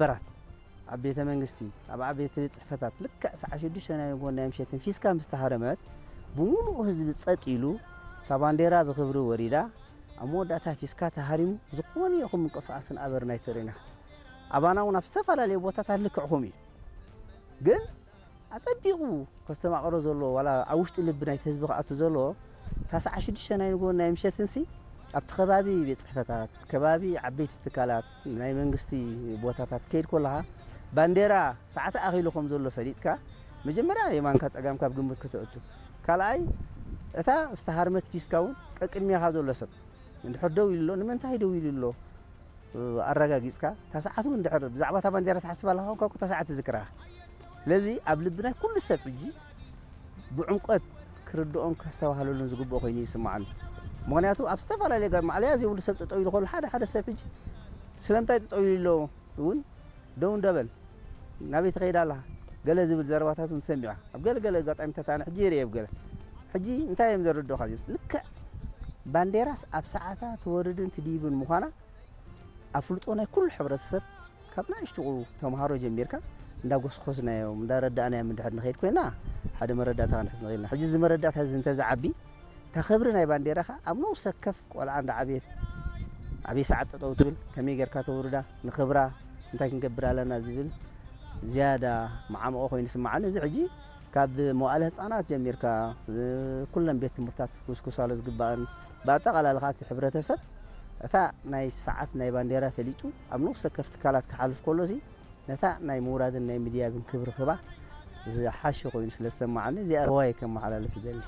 በራት ኣብ ቤተ መንግስቲ፣ ኣብ ዓበይቲ ቤት ጽሕፈታት ልክዕ ሰዓት ሽዱሽተ ናይ ንግሆ ናይ ምሸትን ፊስካ ምስ ተሃረመት፣ ብምሉእ ህዝቢ ጸጥ ኢሉ፣ እታ ባንዴራ ብኽብሪ ወሪዳ፣ ኣብ መወዳእታ ፊስካ ተሃሪሙ፣ ዝኾነ ይኹን ምንቅስቓስን ኣበርና ኣይተርእና። ኣባና እውን ኣብ ዝተፈላለዩ ቦታታት ልክዕኹም እዩ። ግን ኣጸቢቑ ከስተማቕሮ ዘለዎ፣ ዋላ ኣብ ውሽጢ ልቢ ናይቲ ህዝቢ ክኣቱ ዘለዎ፣ እታ ሰዓት ሽዱሽተ ናይ ንግሆን ናይ ምሸትንሲ፣ ኣብቲ ከባቢ ቤት ጽሕፈታት፣ ከባቢ ዓበይቲ ትካላት፣ ናይ መንግስቲ ቦታታት ከይድ ከለኻ፣ ባንዴራ ሰዓት ኣኺሉ ከም ዘሎ ፈሊጥካ፣ መጀመርያ የማንካ ጸጋምካ ኣብ ግምት ከተእቱ። ካልኣይ፣ እታ ዝተሃርመት ፊስካ እውን ቀቅድሜኻ ዘሎ ሰብ እንድሕር ደው ኢሉ ኣሎ፣ ንምንታይ ደው ኢሉ ኣሎ? ኣረጋጊጽካ፣ እታ ሰዓት እውን እንድሕር ብዛዕባ እታ ባንዴራ ትሓስብ ኣለኻ ኮንካ፣ እታ ሰዓት ትዝክራ። ስለዚ ኣብ ልቢ ናይ ኩሉ ሰብ ሕጂ ብዕምቆት ክርድኦን ከስተባህለሉን ዝግብኦ ኮይኑ ይስምዓኒ። ምኽንያቱ ኣብ ዝተፈላለየ ገ-፣ ማዕለያ ዘይብሉ ሰብ ጠጠው ኢሉ ከሎ፣ ሓደ ሓደ ሰብ ሕጂ ስለምንታይ ጠጠው ኢሉ ኣሎ እውን ደው እንደበል፣ ናበይ ትኸይድ ኣለኻ ገለ ዝብል ዘረባታት እውን ትሰምዕ ኢኻ። ኣብ ገለ ገለ ኣጋጣሚታት ኣነ ሕጂ ይርእየ ኣብ ገለ። ሕጂ እንታይ እዮም ዘረድኡኻ እዚኦም? ልክዕ ባንዴራስ ኣብ ሰዓታ ትወርድን ትድይብን ምዃና ኣፍልጦ ናይ ኩሉ ሕብረተሰብ ካብ ንኣሽቱ ተምሃሮ ጀሚርካ እንዳጎስኮስናዮም እንዳረዳእናዮም እንድሕር ንኸይድ ኮይና ሓደ መረዳእታ ክንሕዝ ንኽእል ኢና። ሕጂ እዚ መረዳእታ እዚ እንተዝዓቢ እታ ክብሪ ናይ ባንዴራ ኸኣ ኣብ ነብሰ ወከፍ ቆልዓ እንዳዓበየት ኣበይ ሰዓት ጠጠው ትብል፣ ከመይ ጌርካ ተውርዳ፣ ንኽብራ እንታይ ክንገብር ኣለና ዝብል ዝያዳ መዓሙቖ ኮይኑ ይስምዓኒ። እዚ ሕጂ ካብ መዋእለ ህጻናት ጀሚርካ፣ እ፣ ኩለን ቤት ትምህርታት ክጉስጉሳሉ ዝግባእን፣ ብኣጠቓላሊ ኸኣ እቲ ሕብረተሰብ እታ ናይ ሰዓት ናይ ባንዴራ ፈሊጡ ኣብ ነፍሲ ወከፍ ትካላት ክሓልፍ ከሎሲ፣ ነታ ናይ ምውራድን ናይ ምድያብን ክብሪ ክባ ዝሓሸ ኮይኑ ስለ ዝሰማዓኒ፣ እዚኣ ርዋይ ከመሓላልፍ ይደሊ።